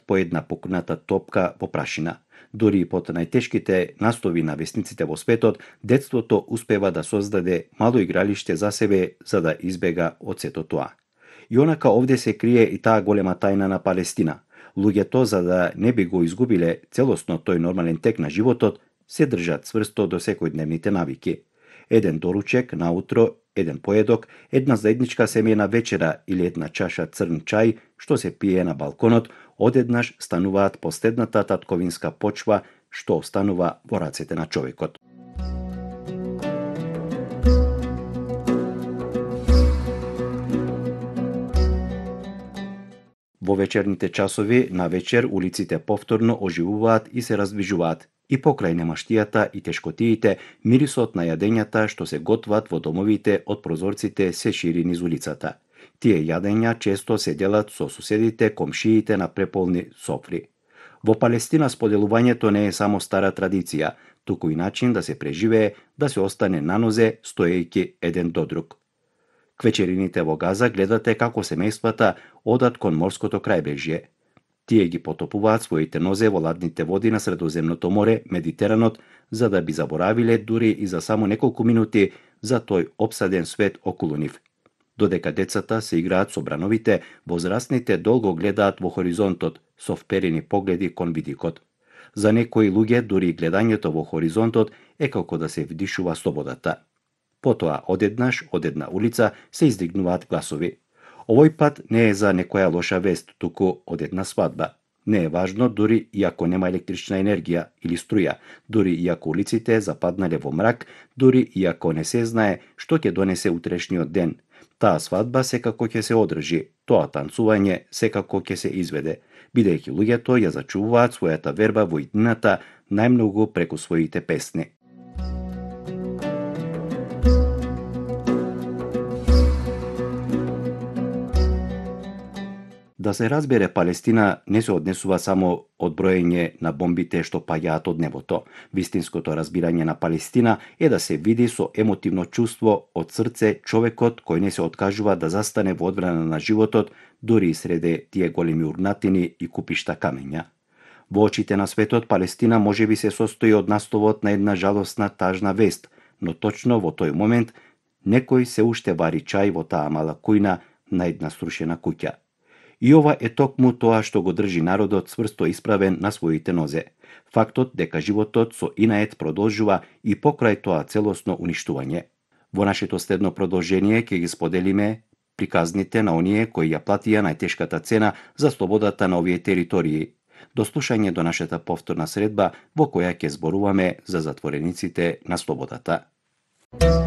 по една покрната топка во прашина. Дури и под најтешките настови на весниците во светот, детството успева да создаде мало игралиште за себе за да избега од сето тоа. И онака овде се крие и таа голема тајна на Палестина. Луѓето, за да не би го изгубиле целосно тој нормален тек на животот, се држат цврсто до секојдневните навики. Еден доручек наутро, еден поедок, една заедничка семејна вечера или една чаша црн чај што се пие на балконот, одеднаш стануваат последната татковинска почва што останува во рацете на човекот. Во вечерните часови на вечер улиците повторно оживуваат и се раздвижуваат. И покрај немаштијата и тешкотиите, мирисот на јадењата што се готват во домовите од прозорците се шири низ улицата. Тие јадења често се делат со суседите, комшиите на преполни софри. Во Палестина споделувањето не е само стара традиција, туку и начин да се преживее, да се остане на нозе, стоејќи еден до друг. Квечерините во Газа гледате како семејствата одат кон морското крајбрежје. Тие ги потопуваат своите нозе во ладните води на Средоземното море, Медитеранот, за да би заборавиле дури и за само неколку минути за тој опсаден свет околу нив. Додека децата се играат со брановите, возрастните долго гледаат во хоризонтот со вперени погледи кон видикот. За некои луѓе дури гледањето во хоризонтот е како да се вдишува слободата. Потоа одеднаш од една улица се издигнуваат гласови. Овој пат не е за некоја лоша вест, туку од една свадба. Не е важно дури и ако нема електрична енергија или струја, дури и ако улиците западнале во мрак, дури и ако не се знае што ќе донесе утрешниот ден. Таа свадба секако ќе се одржи, тоа танцување секако ќе се изведе, бидејќи луѓето ја зачувуваат својата верба во иднината најмногу преку своите песни. Да се разбере, Палестина не се однесува само од броење на бомбите што паѓаат од небото. Вистинското разбирање на Палестина е да се види со емотивно чувство од срце човекот кој не се откажува да застане во одбрана на животот, дури и среде тие големи урнатини и купишта камења. Во очите на светот, Палестина можеби се состои од насловот на една жалосна, тажна вест, но точно во тој момент некој се уште вари чај во таа мала кујна на една срушена куќа. И ова е токму тоа што го држи народот цврсто исправен на своите нозе. Фактот дека животот со инает продолжува и покрај тоа целосно уништување. Во нашето следно продолжение ќе ги споделиме приказните на оние кои ја платија најтешката цена за слободата на овие територии. До слушање до нашата повторна средба во која ќе зборуваме за затворениците на слободата.